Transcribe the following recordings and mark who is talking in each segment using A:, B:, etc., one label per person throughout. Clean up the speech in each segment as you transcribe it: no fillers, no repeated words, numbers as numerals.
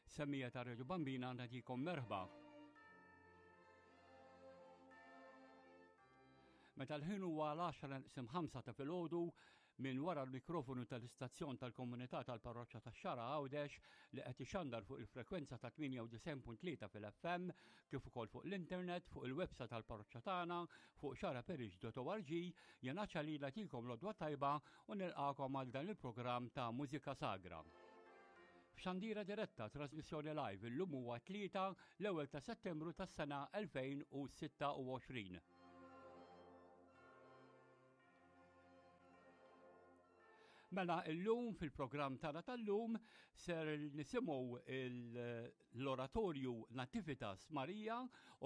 A: Semmija ta' Radio Bambina nagħtikom merħba. Meta l-ħin huwa l-10 neqsim 5 ta' filgħodu minn wara l-mikrofonu tal-istazzjon tal-komunità tal-parroċċa tax-Xara Għawdex li qed ixandar fuq il-frekwenza ta' 98.3 fil-FM kif ukoll fuq l-internet fuq il-website tal-parroċċa tagħna fuq xaraparish.org jena ċalila tikom l-odwa tajba u nilqakom għal dan il-programm ta' Mużika Sagra. F'xandira diretta trasmissjoni live illum huwa tlieta l-ewwel ta' Settembru tas-sena 2026. Mela illum fil-programm tagħna tal-lum ser nisimgħu l-oratorju Nativitas Marija,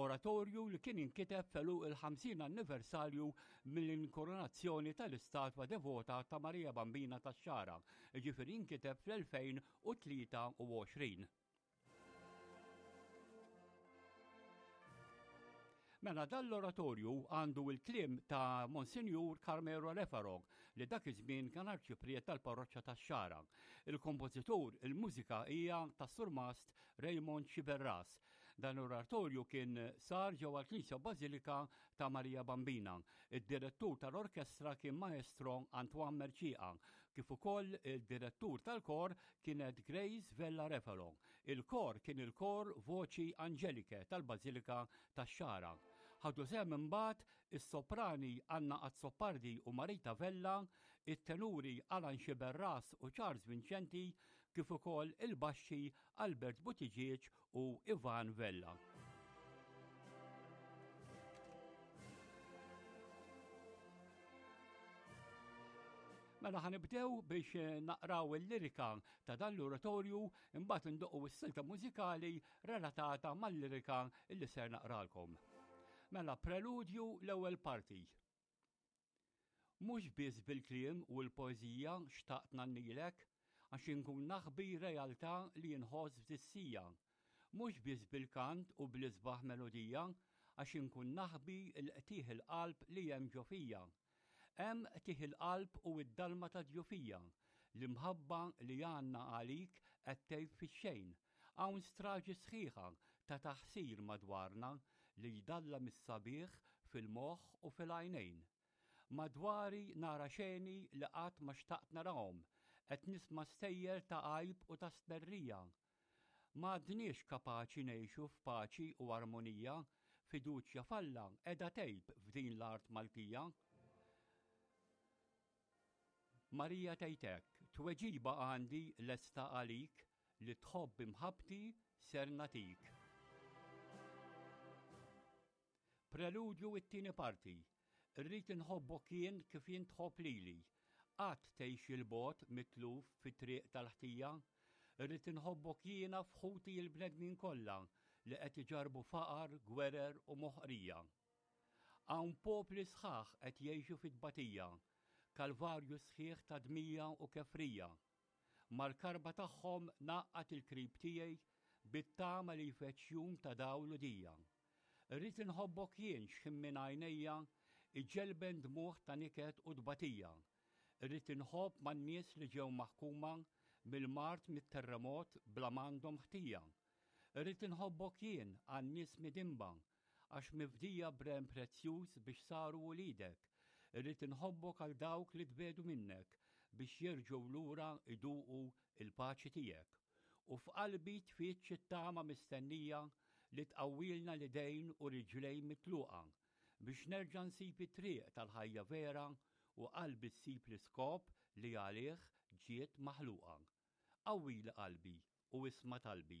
A: oratorju li kien inkiteb felu il-50 anniversarju mill-inkoronazzjoni tal-istatwa devota ta' Marija Bambina tax-Xara, ġifieri inkiteb fl-2023. Mela dan l-oratorju għandu il-kliem ta' Monsinjur Carmelo Refarog li dak iż-żmien kien arċipriet tal-parroċċa tax-Xara. Il-kompożitur, il-mużika hija tas-surmast Raymond Sciberras. Dan l-oratorju kien sar ġewwa l-Knisja Bażilika ta' Marija Bambina. Id-direttur tal-orkestra kien Maestro Antoine Mercieca, kif ukoll il-direttur tal-kor kienet Grace Vella Refalo. Il-kor kien il-kor Voci Angeliche tal-Bażilika tax-Xagħra. Ħadu sehem imbagħad is-soprani Anna Azzopardi u Marita Vella, it-tenuri Alan Sciberras u Charles Vincenti, kif ukoll il-baxxi Albert Buttigieg u Ivan Vella. Mela ħanibdew biex eh, naqraw il-lirika ta' dan l-oratorju imbagħad indoqqu s-silta mużikali relatata mal-lirika li ser naqralkom. Mela preludju l-ewwel parti. Mhux biss bil-kliem u l-poeżija xtaqt ngħannilek, għax inkun naħbi realtà li nħoss f'dissija. Mhux biss bil-kant u bl-isbaħ melodija, għax inkun naħbi l-qtigħ il-qalb li hemm ġo fija. Hemm qtigħ il-qalb u d-dalma tad-djufija, l-imħabba li għandna għalik qed tgħib fix-xejn. Hawn straġi sħiħa ta' taħsir madwarna li jdallam is-sabiħ fil-moħħ u fil-għajnejn. Madwari nara xeni li qatt ma xtaqt narahom, qed nisma' stejjer ta' għajb u ta' stmerrija. M'għadniex kapaċi ngħixu f'paċi u armonija, fiduċja f'Alla qiegħda tgħib f'din l-art Maltija. Marija tgħid hekk, Tweġiba għandi lesta għalik li tħobb imħabbti ser nagħtik. Preludju it-tieni parti. Irrid inħobbok jien kif int tħobb lili. Qatt tgħix 'il bogħod mitluf fit-triq tal-ħtija. Irrid inħobbok jiena f'ħuti l-bnedmin kollha li qed iġarrbu faqar, gwerer u moħqrija. Hawn popli sħaħ qed jgħixu fit-tbatija, kalvarju sħiħ ta' dmija u kefrija. Mal-karba tagħhom ngħaqqad il-krib tiegħi bit-tama li jfeġġ jum ta' dawl u dija. Irrid inħobbok jien x'ħin minn għajnejja iġelben dmugħ ta' niket u tbatija. Irrid inħobb man-nies li ġew maħkuma mill-mard mit-terremot bla m'għandhom ħtija. Irrid inħobbok jien għan-nies midinba Għax mifdija b'remm prezzjuż biex saru uliedek. Irrid inħobbok għal dawk li tbiegħdu minnek biex jerġgħu lura jduqu l-paċi tiegħek. U f'qalbi tfittx it-tama mistennija li tqawwilna l-idejn u riġlejn mitluqa biex nerġa' nsib it-triq tal-ħajja vera u qalbi ssib l-iskop li għalih ġiet maħluqa. Qawwili qalbi u isma' talbi.